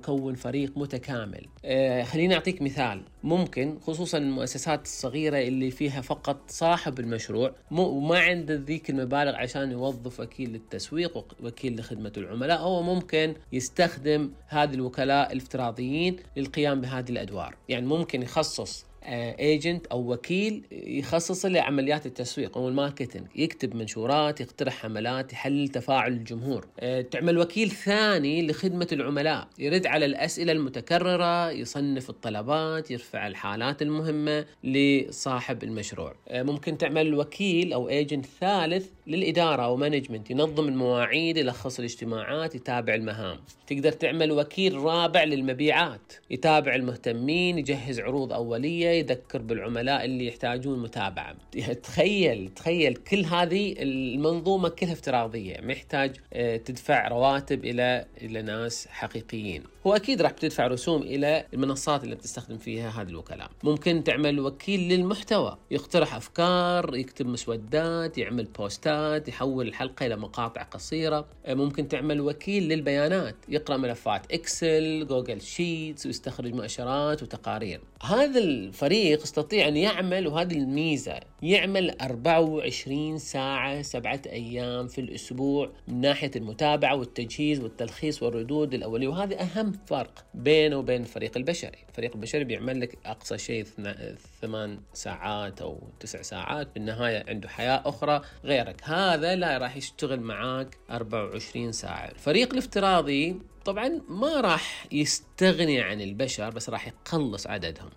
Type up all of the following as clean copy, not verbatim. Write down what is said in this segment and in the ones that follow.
كون فريق متكامل. خليني أعطيك مثال. ممكن خصوصا المؤسسات الصغيرة اللي فيها فقط صاحب المشروع وما عنده ذيك المبالغ عشان يوظف وكيل للتسويق ووكيل لخدمة العملاء، هو ممكن يستخدم هذه الوكلاء الافتراضيين للقيام بهذه الأدوار. يعني ممكن يخصص ايجنت او وكيل يخصص لعمليات التسويق او الماركتينج، يكتب منشورات، يقترح حملات، يحلل تفاعل الجمهور. تعمل وكيل ثاني لخدمة العملاء، يرد على الأسئلة المتكررة، يصنف الطلبات، يرفع الحالات المهمة لصاحب المشروع. ممكن تعمل وكيل او ايجنت ثالث للإدارة او مانجمنت، ينظم المواعيد، يلخص الاجتماعات، يتابع المهام. تقدر تعمل وكيل رابع للمبيعات، يتابع المهتمين، يجهز عروض أولية، يذكر بالعملاء اللي يحتاجون متابعة. تخيل كل هذه المنظومة كلها افتراضية، محتاج تدفع رواتب إلى ناس حقيقيين. هو أكيد راح تدفع رسوم إلى المنصات اللي بتستخدم فيها هذه الوكلاء. ممكن تعمل وكيل للمحتوى، يقترح أفكار، يكتب مسودات، يعمل بوستات، يحول الحلقة إلى مقاطع قصيرة. ممكن تعمل وكيل للبيانات، يقرأ ملفات إكسل، جوجل شيتس، ويستخرج مؤشرات وتقارير. هذا الفريق يستطيع أن يعمل، وهذه الميزة، يعمل 24 ساعة 7 أيام في الأسبوع من ناحية المتابعة والتجهيز والتلخيص والردود الأولية. وهذا أهم فرق بينه وبين الفريق البشري. الفريق البشري بيعمل لك أقصى شيء 8 ساعات أو 9 ساعات، بالنهاية عنده حياة أخرى غيرك. هذا لا راح يشتغل معاك 24 ساعة. الفريق الافتراضي طبعا ما راح يستغني عن البشر، بس راح يقلص عددهم.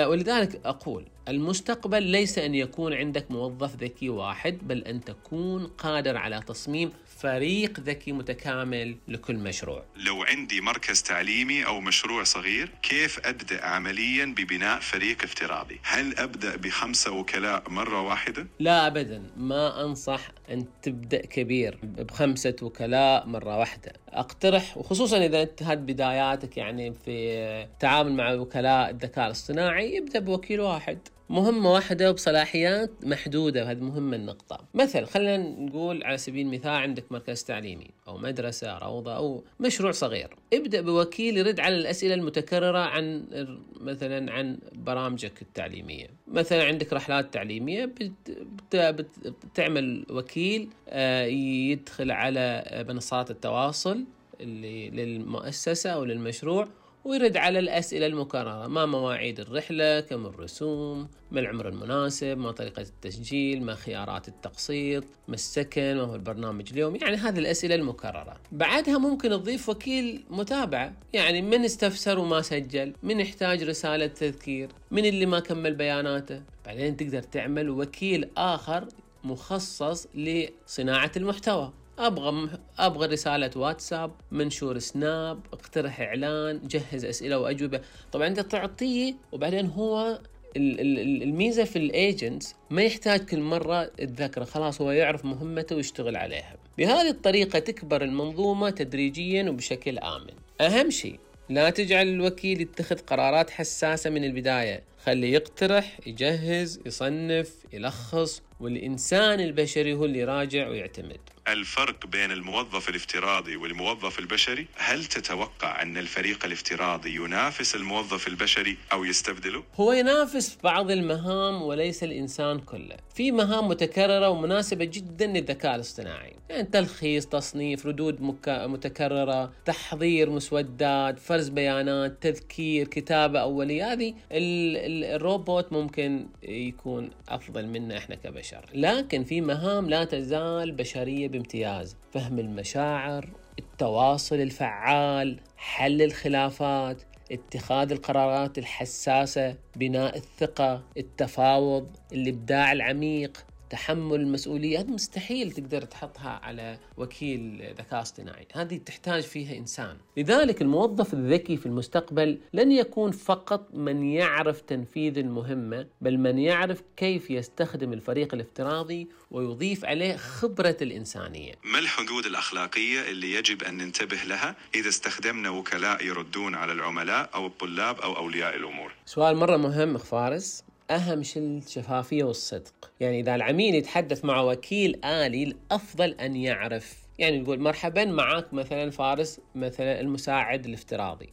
ولذلك أقول المستقبل ليس أن يكون عندك موظف ذكي واحد، بل أن تكون قادر على تصميم فريق ذكي متكامل لكل مشروع. لو عندي مركز تعليمي أو مشروع صغير، كيف أبدأ عمليا ببناء فريق افتراضي؟ هل أبدأ ب5 وكلاء مرة واحدة؟ لا أبدا، ما أنصح أن تبدأ كبير ب5 وكلاء مرة واحدة. أقترح، وخصوصا إذا أنت هاد بداياتك يعني في تعامل مع وكلاء الذكاء الاصطناعي، يبدأ بوكيل واحد، مهمة واحدة وبصلاحيات محدودة. وهذه مهمة النقطة. مثلا خلينا نقول على سبيل المثال عندك مركز تعليمي أو مدرسة، روضة، أو مشروع صغير. ابدأ بوكيل يرد على الأسئلة المتكررة عن برامجك التعليمية. مثلا عندك رحلات تعليمية، بتعمل وكيل يدخل على منصات التواصل اللي للمؤسسة أو للمشروع، ويرد على الأسئلة المكررة: ما مواعيد الرحلة، كم الرسوم، ما العمر المناسب، ما طريقة التسجيل، ما خيارات التقسيط، ما السكن، ما هو البرنامج اليوم. يعني هذه الأسئلة المكررة. بعدها ممكن تضيف وكيل متابعة، يعني من استفسر وما سجل، من يحتاج رسالة تذكير، من اللي ما كمل بياناته. بعدين تقدر تعمل وكيل آخر مخصص لصناعة المحتوى. أبغى رسالة واتساب، منشور سناب، اقترح إعلان، جهز أسئلة وأجوبة. طبعا أنت تعطيه، وبعدين هو الميزة في الإيجنتس ما يحتاج كل مرة تذكره، خلاص هو يعرف مهمته ويشتغل عليها. بهذه الطريقة تكبر المنظومة تدريجيا وبشكل آمن. أهم شيء لا تجعل الوكيل يتخذ قرارات حساسة من البداية، خليه يقترح، يجهز، يصنف، يلخص، والإنسان البشري هو اللي يراجع ويعتمد. الفرق بين الموظف الافتراضي والموظف البشري، هل تتوقع أن الفريق الافتراضي ينافس الموظف البشري أو يستبدله؟ هو ينافس بعض المهام وليس الإنسان كله. في مهام متكررة ومناسبة جدا للذكاء الاصطناعي، يعني تلخيص، تصنيف، ردود متكررة، تحضير مسودات، فرز بيانات، تذكير، كتابة أولية. هذه الروبوت ممكن يكون أفضل منا إحنا كبشر. لكن في مهام لا تزال بشرية بامتياز: فهم المشاعر، التواصل الفعال، حل الخلافات، اتخاذ القرارات الحساسة، بناء الثقة، التفاوض، الإبداع العميق، تحمل المسؤولية. هذه مستحيل تقدر تحطها على وكيل ذكاء اصطناعي، هذه تحتاج فيها إنسان. لذلك الموظف الذكي في المستقبل لن يكون فقط من يعرف تنفيذ المهمة، بل من يعرف كيف يستخدم الفريق الافتراضي ويضيف عليه خبرة الإنسانية. ما الحدود الأخلاقية اللي يجب أن ننتبه لها إذا استخدمنا وكلاء يردون على العملاء أو الطلاب أو أولياء الأمور؟ سؤال مرة مهم فارس. أهم شيء الشفافية والصدق. يعني إذا العميل يتحدث مع وكيل آلي، الأفضل أن يعرف، يعني نقول مرحبا معك مثلا فارس، مثلا المساعد الافتراضي،